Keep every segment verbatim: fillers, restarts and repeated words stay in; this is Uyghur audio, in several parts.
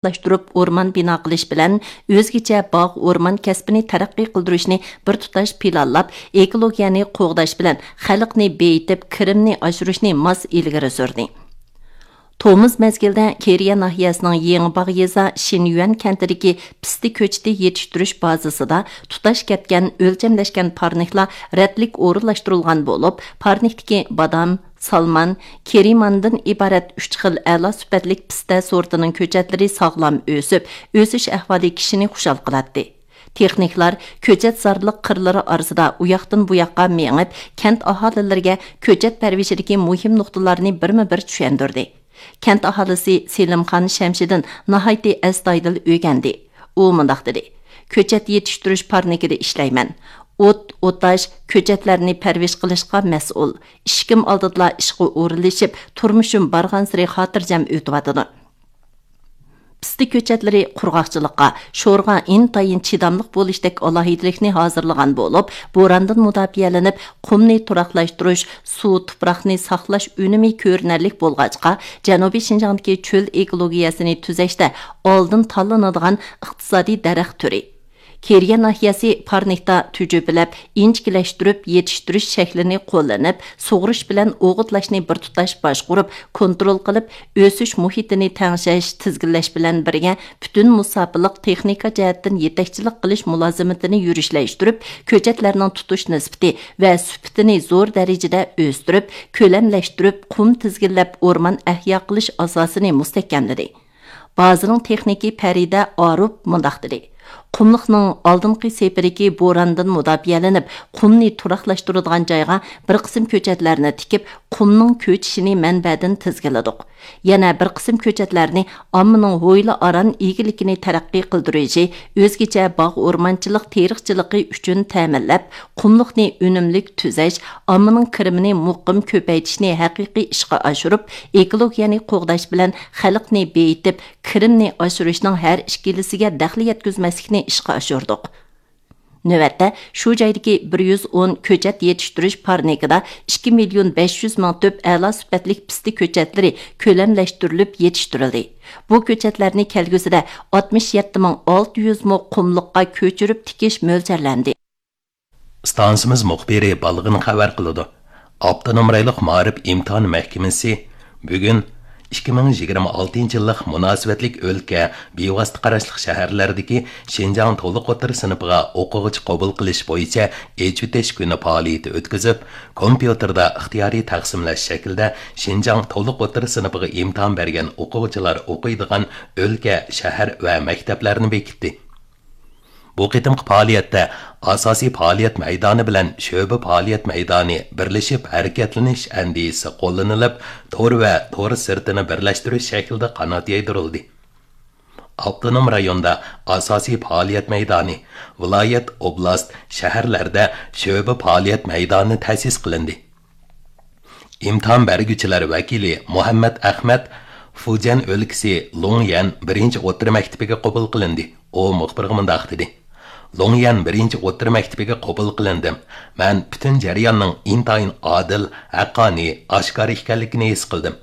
ئورۇنلاشتۇرۇپ، ئورمان بىنا قىلىش بىلەن ئۆزگىچە باغ، ئورمان كەسپىنى تەرەققىي قىلدۇرۇشنى بىر تۇتاش پىلانلاپ، ئېكولوگىيەنى قوغداش بىلەن خەلقنى بېيىتىپ، كىرىمنى ئاشۇرۇشنى ماس ئىلگىرى سۈردى. تومۇز مەزگىلدە كېرىيە ناھىيەسىنىڭ يېڭىباغ يېزا شىنيۈەن كەنتىدىكى پىستە كۆچىتى يېتىشتۈرۈش بازىسىدا تۇتاش كەتكەن ئۆلچەملەشكەن پارنىكلار رەتلىك ئورۇنلاشتۇرۇلغان بولۇپ، پارنىكتىكى بادام، سالمان، كېرىماندىن ئىبارەت ئۈچ خىل ئەلا سۈپەتلىك پىستە سورتىنىڭ كۆچەتلىرى ساغلام ئۆسۈپ، ئۆسۈش ئەھۋالى كىشىنى خۇشال قىلاتتى. تېخنىكلار كۆچەت زارلىق قىرلىرى ئارىسىدا ئۇياقتىن بۇياققا مېڭىپ، كەنت ئاھالىلىرىگە كۆچەت پەرۋىشىدىكى مۇھىم نۇقتىلارنى بىرمۇ بىر چۈشەندۈردى. كەنت ئاھالىسى سېلىمخان شەمشىدىن ناھايىتى ئەستايىدىل ئۆگەندى. ئۇ مۇنداق دېدى: «كۆچەت يېتىشتۈرۈش پارنىكىدا ئىشلەيمەن. ئوت، ئوتاش، كۆچەتلەرنى پەرۋىش قىلىشقا مەسئۇل. ئىشىكىم ئالدىدىلا ئىشقا ئورۇنلىشىپ، تۇرمۇشۇم بارغانسېرى خاتىرجەم ئۆتۈۋاتىدۇ.» پىستە كۆچەتلىرى قۇرغاقچىلىققا، شورغا ئىنتايىن چىداملىق بولۇشتەك ئالاھىدىلىكنى ھازىرلىغان بولۇپ، بوراندىن مۇداپىئەلىنىپ، قۇمنى تۇراقلاشتۇرۇش، سۇ، تۇپراقنى ساقلاش ئۈنۈمى كۆرۈنەرلىك بولغاچقا، جەنۇبىي شىنجاڭدىكى چۆل ئېكولوگىيەسىنى تۈزەشتە ئالدىن تاللىنىدىغان ئىقتىسادىي دەرەخ تۈرى. كېرىيە ناھىيەسى پارنىكتا تۈجۈپىلەپ، ئىنچىكىلەشتۈرۈپ يېتىشتۈرۈش شەكلىنى قوللىنىپ، سۇغىرىش بىلەن ئوغۇتلاشنى بىر تۇتاش باشقۇرۇپ، كونترول قىلىپ، ئۆسۈش مۇھىتىنى تەڭشەش، تىزگىنلەش بىلەن بىرگە، پۈتۈن مۇساپىلىق تېخنىكا جەھەتتىن يېتەكچىلىك قىلىش مۇلازىمىتىنى يۈرۈشلەشتۈرۈپ، كۆچەتلەرنىڭ تۇتۇش نىسبىتى ۋە سۈپىتىنى زور دەرىجىدە ئۆستۈرۈپ، كۆلەملەشتۈرۈپ، قۇم تىزگىنلەپ ئورمان ئەھيا قىلىش ئاساسىنى مۇستەھكەملىدى. بازىنىڭ تېخنىكى پەرىدە ئاروپ مۇنداق دېدى: «قۇملۇقنىڭ ئالدىنقى سېپىدىكى بوراندىن مۇداپىئەلىنىپ، قۇمنى تۇراقلاشتۇرىدىغان جايغا بىر قىسىم كۆچەتلەرنى تىكىپ، قۇمنىڭ كۆچۈشىنى مەنبەدىن تىزگىنلىدۇق. يەنە بىر قىسىم كۆچەتلەرنى ئاممىنىڭ ھويلا ئاران ئىگىلىكىنى تەرەققىي قىلدۇرۇشى، ئۆزگىچە باغ ئورمانچىلىق تېرىقچىلىقى ئۈچۈن تەمىنلەپ، قۇملۇقنى ئۈنۈملۈك تۈزەش، ئاممىنىڭ كىرىمىنى مۇقىم كۆپەيتىشنى ھەقىقىي ئىشقا ئاشۇرۇپ، ئېكولوگىيەنى قوغداش بىلەن خەلقنى بېيىتىپ، كىرىمنى ئاشۇرۇشنىڭ ھەر ئىككىلىسىگە دەخلى يەتكۈزمەسلىكنى ئىشقا ئاشۇردۇق.» نۆۋەتتە شۇ جايدىكى بىر يۈز ئون كۆچەت يېتىشتۈرۈش پارنىكىدا ئىككى مىليون بەش يۈز مىڭ تۈپ ئەلا سۈپەتلىك پىستە كۆچەتلىرى كۆلەملەشتۈرۈلۈپ يېتىشتۈرۈلدى. بۇ كۆچەتلەرنى كەلگۈسىدە ئاتمىش يەتتە مىڭ ئالتە يۈز مو قۇملۇققا كۆچۈرۈپ تىكىش مۆلچەرلەندى. ئىستانسىمىز مۇخبىرى بالغىن خەۋەر قىلىدۇ. ئاپتونوم رايونلۇق مائارىپ ئىمتىھان مەھكىمىسى بۈگۈن ئىككى مىڭ يىگىرمە ئالتىنچى يىللىق مۇناسىۋەتلىك ئۆلكە، بىۋاسىتە قاراشلىق شەھەرلەردىكى شىنجاڭ تولۇق ئوتتۇرا سىنىپىغا ئوقۇغۇچى قوبۇل قىلىش بويىچە ئېچىۋېتىش كۈنى پائالىيىتى ئۆتكۈزۈپ، كومپيۇتېردا ئىختىيارىي تەقسىملەش شەكلىدە شىنجاڭ تولۇق ئوتتۇرا سىنىپىغا ئىمتىھان بەرگەن ئوقۇغۇچىلار ئوقۇيدىغان ئۆلكە، شەھەر ۋە مەكتەپلەرنى بېكىتتى. بۇ قېتىمقى پائالىيەتتە ئاساسىي پائالىيەت مەيدانى بىلەن شۆبە پائالىيەت مەيدانى بىرلىشىپ ھەرىكەتلىنىش ئەندىزىسى قوللىنىلىپ، تور ۋە تور سىرتىنى بىرلەشتۈرۈش شەكلىدە قانات يايدۇرۇلدى. ئاپتونوم رايوندا ئاساسىي پائالىيەت مەيدانى، ۋىلايەت، ئوبلاست، شەھەرلەردە شۆبە پائالىيەت مەيدانى تەسىس قىلىندى. ئىمتىھان بەرگۈچىلەر ۋەكىلى مۇھەممەت ئەخمەت فۇجيەن ئۆلكىسى لۇڭيەن بىرىنچى ئوتتۇرا مەكتىپىگە قوبۇل قىلىندى. ئۇ مۇخبىرغا مۇنداق دېدى: «لۇڭيەن بىرىنچى ئوتتۇرا مەكتىپىگە قوبۇل قىلىندىم. مەن پۈتۈن جەرياننىڭ ئىنتايىن ئادىل، ھەققانىي، ئاشكارا ئىكەنلىكىنى ھېس قىلدىم.»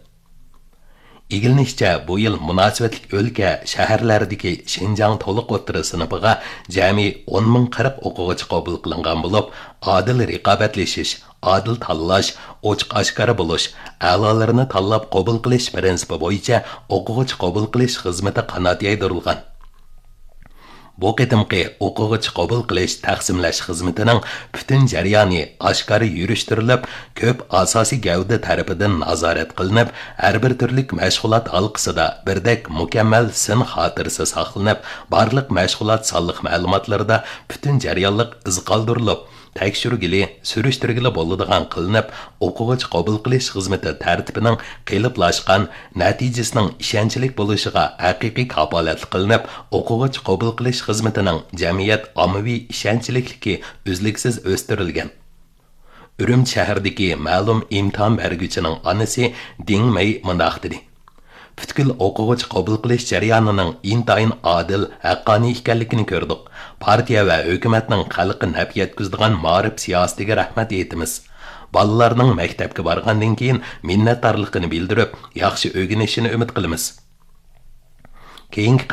ئىگىلىنىشىچە، بۇ يىل مۇناسىۋەتلىك ئۆلكە، شەھەرلەردىكى شىنجاڭ تولۇق ئوتتۇرا سىنىپىغا جەمئىي ئون مىڭ قىرىق ئوقۇغۇچى قوبۇل قىلىنغان بولۇپ، ئادىل رىقابەتلىشىش، ئادىل تاللاش، ئوچۇق ئاشكارا بولۇش، ئەلالىرىنى تاللاپ قوبۇل قىلىش پىرىنسىپى بويىچە ئوقۇغۇچى قوبۇل قىلىش خىزمىتى قانات يايدۇرۇلغان. بۇ قېتىمقى ئوقۇغۇچى قوبۇل قىلىش، تەقسىملەش خىزمىتىنىڭ پۈتۈن جەريانى ئاشكارا يۈرۈشتۈرۈلۈپ، كۆپ ئاساسىي گەۋدە تەرىپىدىن نازارەت قىلىنىپ، ھەر بىر تۈرلۈك مەشغۇلات ھالقىسىدا بىردەك مۇكەممەل سىن خاتىرىسى ساقلىنىپ، بارلىق مەشغۇلات سانلىق مەلۇماتلىرىدا پۈتۈن جەريانلىق ئىز قالدۇرۇلۇپ، تەكشۈرگىلى، سۈرۈشتۈرگىلى بولىدىغان قىلىنىپ، ئوقۇغۇچى قوبۇل قىلىش خىزمىتى تەرتىپىنىڭ قېلىپلاشقان، نەتىجىسىنىڭ ئىشەنچلىك بولۇشىغا ھەقىقىي كاپالەتلىك قىلىنىپ، ئوقۇغۇچى قوبۇل قىلىش خىزمىتىنىڭ جەمئىيەت ئاممىۋى ئىشەنچلىكلىكى ئۈزلۈكسىز ئۆستۈرۈلگەن. ئۈرۈمچى شەھىرىدىكى مەلۇم ئىمتىھان بەرگۈچىنىڭ ئانىسى دىڭ مېي مۇنداق دېدى: پۈتكۈل ئوقۇغۇچى قوبۇل قىلىش جەريانىنىڭ ئىنتايىن ئادىل، ھەققانىي ئىكەنلىكىنى كۆردۇق. پارتىيە ۋە ھۆكۈمەتنىڭ خەلققە نەپ يەتكۈزىدىغان مائارىپ سىياسىتىگە رەھمەت ئېيتىمىز. بالىلارنىڭ مەكتەپكە بارغاندىن كېيىن مىننەتدارلىقىنى بىلدۈرۈپ، ياخشى ئۆگىنىشىنى ئۈمىد قىلىمىز. كېيىنكى